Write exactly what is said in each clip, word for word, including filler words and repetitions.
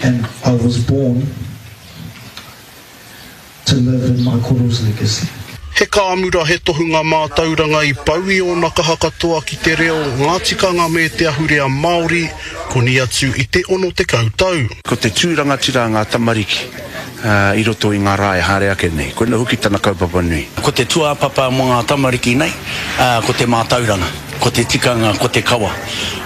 And I was born to live in my koro's legacy. He kāmura, he tohunga mātauranga i pau i ōna kaha katoa ki te reo, ngā tikanga me te ahurea Māori, koni atu i te ono tekau tau. Ko te tū rangatira a ngā tamariki i roto i ngā rā e haere ake nei. Koina hoki tana kaupapa nui. Ko te tūāpapa mō ngā tamariki nei, ko te mātauranga, ko te tikanga, ko te kawa.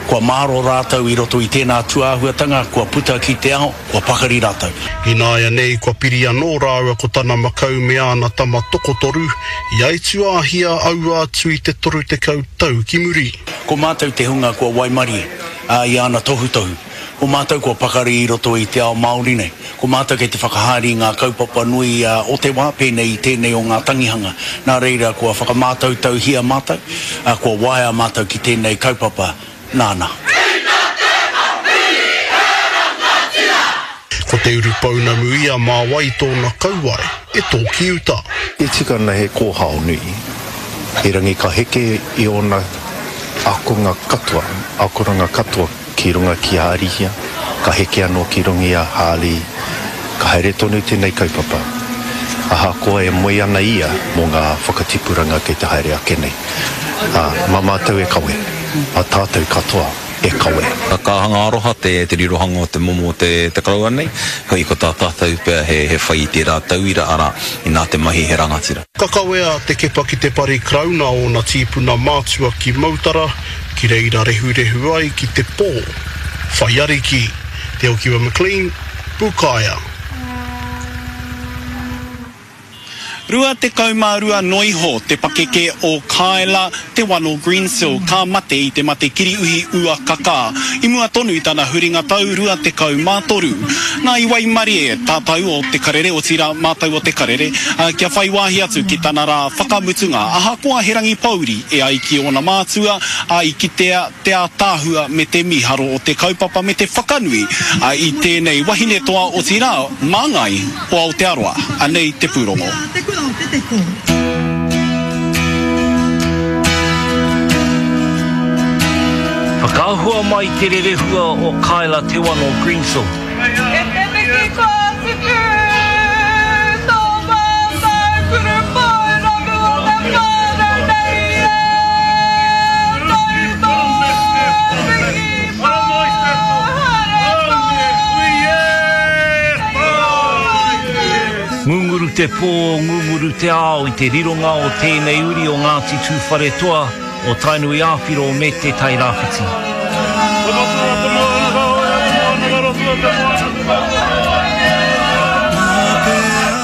Kua māro rātou i roto i tēnā tūāhuatanga, kua puta ki te ao, kua pakari rātou. Ināianei kua piri anō rāua ko tana makau me āna tama tokotoru, i aituāhia aua atu i te toru tekau tau ki muri. Ko mātou te hunga kua waimarie i āna tohutohu. Ko mātou kua pakari i roto i te ao Māori nei. Ko mātou kei te whakahaere i ngā kaupapa nui o te wā, pēnei i tēnei o ngā tangihanga. Nā reira kua whakamātautauhia mātou, kua waea mātou ki tēnei kaupapa nāna. Ko te urupounamu ia mā wai tōna kauae e tōki uta. E tika ana he kōhao nui, erangi ka heke i ōna ākonga katoa, akoranga katoa ki runga ki a Arihia, ka heke anō ki runga i a Harley, ka haere tonu tēnei kaupapa. Ahakoa e moe ana ia mō ngā whakatipuranga kei te haere ake nei. Ā, mā mātou e kawe, mā tātou katoa e kawe. Ka kāhanga aroha te, te rirohanga o te momo o te, te koroua nei, hoi ko tā tātou pea he, he whai i tērā tauira, arā, inā te mahi he rangatira. Ka kawea te kepa ki te pari Karauna ōna tīpuna mātua ki Mautara, ki reira rehurehu ai ki te pō. Whai ariki, Te Okiwa McLean, Pūkaea. Rua tekau mā rua noa iho te pakeke o Kyla Te Wano Greensill ka mate i te mate kiriuhi ua kakā i mua tonu i tana huringa tau rua tekau mā toru. Nā i waimarie tātou o Te Karere, otirā mātou o Te Karere, kia whai wāhi atu ki tana rā whakamutunga ahakoa he rangi pōuri e ai ki ōna mātua, ā, i kitea te ātaahua me te mīharo o te kaupapa me te whakanui i tēnei wahine toa otirā māngai o Aotearoa. Anei te pūrongo. Whakaahua mai te rerehua o Kyla Te Wano Greensill. E te miki kua tupu, tō mātou kuru pounamu o te whānau nei e, tau tō piki pōhare Ngunguru te pō, ngunguru te ao i te rironga o tēnei uri o Ngāti Tūwharetoa, o Tainui Āwhiro me Te Tairāwhiti.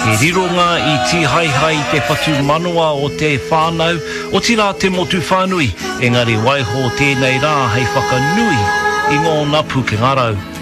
He rironga i tīhaehae i te whatumanawa o te whānau, otirā te motu whānui, engari waiho tēnei rā hei whakanui i ngōna pūkenga rau.